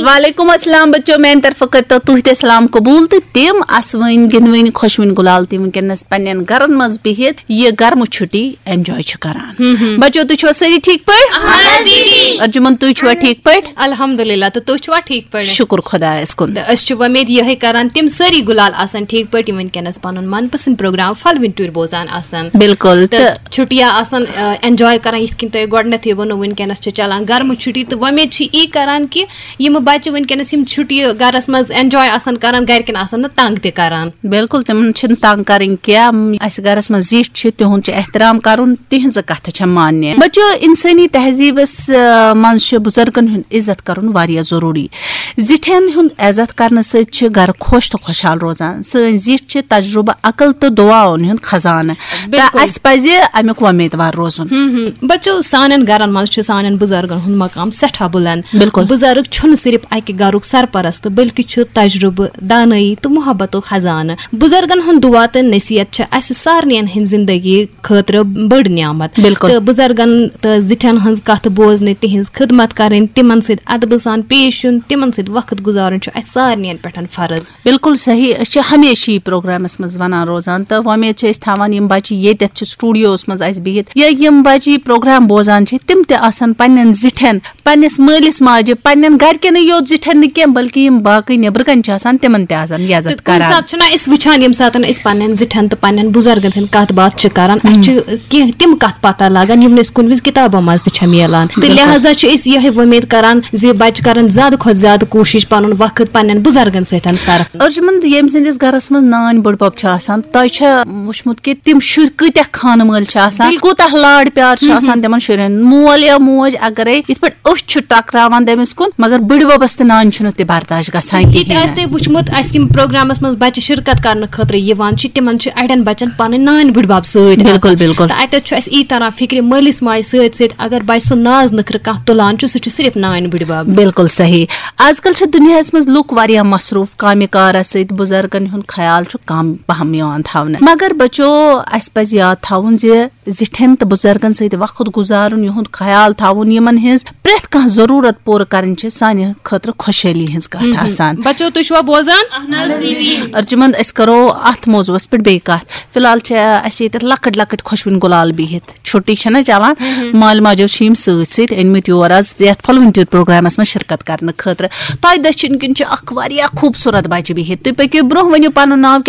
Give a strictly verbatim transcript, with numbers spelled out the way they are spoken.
وعلیکم السلام بچو، میانہِ طرفہٕ کٔرتو تُہۍ تہِ سلام قبول تہٕ تِم اسوٕنۍ گِنٛدوٕنۍ خۄشوٕنۍ گُلال تہِ وٕنکیٚنس پننٮ۪ن گرن منٛز بِہِتھ یہِ گرمہٕ چھُٹی enjoy چھِ کران۔ بچو، تُہۍ چھِوا سٲری ٹھیٖک پٲٹھۍ؟ ارجُمن، تُہۍ چھِوا ٹھیٖک پٲٹھۍ؟ الحمدللہ، تہٕ تُہۍ چھِوا ٹھیٖک پٲٹھۍ؟ شُکُر خۄدایس کُن۔ تہٕ أسۍ چھِ وۄمید یِہے کران، تِم سٲری گُلال آسن ٹھیٖک پٲٹھۍ، یِم وٕنکیٚنس پنُن من پسند پروگرام پھلوٕنۍ ٹُرۍ بوزان آسن۔ بِلکُل۔ تہٕ تہٕ چھُٹیہِ آسان، آ، enjoy کران، یِتھ کٔنۍ تۄہہِ گۄڈٕنیتھٕے ووٚنوُ، وٕنکیٚنس چھِ چلان گرمہٕ چھُٹی، تہٕ وۄمید چھِ یی کران کہِ یِم بچہِ وٕنکیٚنس یِم چھُٹیہِ گرس منٛز enjoy آسن کران، گرِکٮ۪ن آسن نہٕ تنگ تہِ کران۔ بِلکُل، تِمن چھِنہٕ تنگ کرٕنۍ کینٛہہ۔ اَسہِ گرس منٛز زِٹھۍ چھِ، تِہُنٛد چھُ احترام کرُن، تِہنٛزٕ کتھٕ چھےٚ ماننہِ۔ بچو، انسٲنی تہذیٖبس، آ، منٛز چھُ بُزرگن ہُنٛد عزت کرُن واریاہ ضروٗری۔ زِٹھٮ۪ن ہُنٛد عزت کرنہٕ سۭتۍ چھِ گرٕ خۄش تہٕ خۄشحال روزان۔ سٲنۍ زِٹھۍ چھِ تجربہٕ، عقل تہٕ دُعاہن ہُنٛد خزانہٕ، تہٕ بِلکُل۔ اسہِ پزِ امیُک وۄمیدوار روزُن۔ ہم ہم۔ بچو، سانٮ۪ن گرن منٛز چھُ سانٮ۪ن بُزرگن ہُنٛد مقام سٮ۪ٹھاہ بُلند۔ بِلکُل۔ بُزرگ چھُنہٕ صرف اکہِ گرُک سرپرست، بلکہِ چھُ تجربہٕ، دانٲیی تہٕ محبتُک خزانہٕ۔ بُزرگن ہُنٛد دُعا تہٕ نصیحت چھِ اسہِ سارنٕے ہٕنٛز زندگی خٲطرٕ بٔڑ نعمت۔ بِلکُل۔ تہٕ بُزرگن تہٕ زِٹھٮ۪ن ہٕنٛز کتھ بوزنہٕ، تِہنٛز خدمت کرٕنۍ، تِمن سۭتۍ ادبہٕ سان پیش یُن، تِمن سۭتۍ وقت گُزارُن چھُ اسہِ سارنٕے پٮ۪ٹھ فرض۔ بِلکُل صحیح۔ أسۍ چھِ ہمیشہِ یہِ پروگرامس منٛز ونان روزان، تہٕ وۄمید چھِ أسۍ تھاوان، یِم بچہِ ییٚتٮ۪تھ چھِ سٹوڈیوس منٛز اسہِ بِہِتھ یا یِم بچہِ یہِ پروگرام بوزان چھِ، تِم تہِ آسن پننٮ۪ن زِٹھٮ۪ن، پننِس مٲلِس ماجہِ، پننٮ۪ن گرِکٮ۪نٕے یوت زِٹھٮ۪ن نہٕ کینٛہہ، بلکہِ یِم باقٕے نیٚبرٕ کنہِ چھِ آسان، تِمن تہِ آسن یہِ عزت تہٕ کُنہِ کران۔ ساتہٕ چھُنہ أسۍ وٕچھان، ییٚمہِ ساتہٕ أسۍ پننٮ۪ن زِٹھٮ۪ن تہٕ پننٮ۪ن بُزرگن سٕنٛدِ کتھ باتھ چھِ کران، اسہِ چھِ کینٛہہ تِم کتھ پتہ لگان، یِم نہٕ أسۍ کُنہِ وِزِ کِتابو منٛز تہِ چھِ میلان۔ تہٕ بِلکُل۔ لہذا چھِ أسۍ یِہے وۄمید کران زِ بچہِ کرن زیادٕ کھۄتہٕ زیادٕ کوٗشش پنُن وقت پننٮ۪ن بُزرگن سۭتۍ صرف۔ ارجُمند، ییٚمہِ سٕنٛدِس گرس منٛز نانۍ بٕڈبب چھِ آسان، تۄہہِ چھا وٕچھمُت کہِ تِم شُرۍ کۭتیاہ خانہٕ مٲلۍ چھِ آسان، بِلکُل۔ کوٗتاہ لاڈ پیار چھُ آسان تِمن شُرٮ۪ن؟ مول یا موج اگرے یِتھ پٲٹھۍ أچھ چھِ ٹکراوان تٔمِس کُن، مگر بٕڈببس تہٕ نانہِ چھُنہٕ تہِ برداشت گژھان یہِ تہِ کِہیٖنۍ آسہِ تۄہہِ وٕچھمُت، اسہِ یِم پروگرامس منٛز بچہِ شرکت کرنہٕ خٲطرٕ یِوان چھِ، تِمن چھِ اڑٮ۪ن بچن پنٕنۍ نانۍ بٕڈبب سۭتۍ بِلکُل، آسان۔ بِلکُل۔ تہٕ اتٮ۪تھ چھُ اسہِ یی تران فکرِ، مٲلِس ماجہِ سۭتۍ سۭتۍ اگر بچہِ سُنٛد ناز نخرٕ کانٛہہ تُلان چھُ، سُہ چھُ صرف نانۍ بٕڈبب۔ بِلکُل صحیح۔ آز کل چھِ دُنیاہس منٛز لُکھ واریاہ مصروٗف کامہِ کارس سۭتۍ، بُزرگن ہُنٛد خیال چھُ کم پہم یِوان تھاونہٕ۔ مگر بچو، اسہِ پزِ یاد تھاوُن زِ زِٹھٮ۪ن تہٕ بُزرگن سۭتۍ وقت گُزارُن، یِہُنٛد خیال تھاوُن، یِمن ہٕنٛز پرٛٮ۪تھ کانٛہہ ضروٗرت پوٗرٕ کرٕنۍ چھِ سانہِ خٲطرٕ خۄشحٲلی ہٕنٛز کتھ آسان۔ بچو، تُہۍ چھِوا بوزان؟ ارجُمند، أسۍ کرو اتھ موضوعس پٮ۪ٹھ بیٚیہِ کتھ۔ فی الحال چھِ اسہِ ییٚتٮ۪تھ لۄکٕٹۍ لۄکٕٹۍ خۄشوٕنۍ گُلال بِہِتھ، چھُٹی چھےٚ نہ چلان، مالہِ ماجو چھِ یِم سۭتۍ سۭتۍ أنمٕتۍ یور آز یتھ پھلوٕنۍ ٹُرۍ پروگرامس منٛز شرکت کرنہٕ خٲطرٕ۔ تۄہہِ دٔچھِنۍ کِنۍ چھِ اکھ واریاہ خوٗبصوٗرت بچہِ بِہِتھ۔ تُہۍ پٔکِو برونٛہہ، ؤنِو پنُن ناو۔